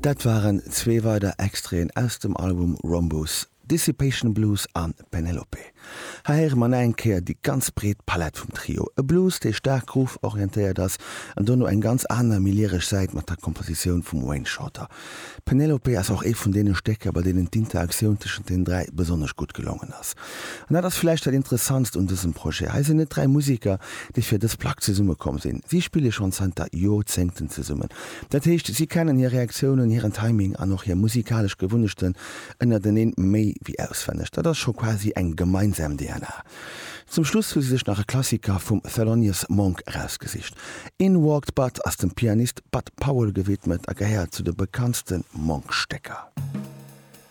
Dat waren zwee weider Extraiten aus dem Album Rhombus, Dissipation Blues an Penelope. Hei héiere mer nach eng Kéier déi ganz breet Palett vum Trio. E Blues, dee staark groove-orientéiert ass an dono eng ganz aner, méi lyresch Säit mat der Kompositioun vum Wayne Shorter. Penelope ass och ee vun deene Stécker, bei deenen d'Interaktioun tëschent den 3 besonnesch gutt gelongen ass. An dat ass vläicht dat Interessantst un dësem Projet, Hei sinn net 3 Museker, déi fir dës Plack zesummekomm sinn. Si spille schonn zanter Joerzéngten zesummen. Dat heescht, si kennen hir Reaktiounen, hiren Timing an och hir musikalesch Gewunnechten ënnerteneen méi wéi auswenneg. Dat ass scho quasi eng gemeinsam DNA. Zum Schluss hu si sech nach e Klassiker vum Thelonious Monk erausgesicht. In Walked Bud ass dem Pianist Bud Powell gewidmet a gehéiert zu de bekanntste Monk-Stécker.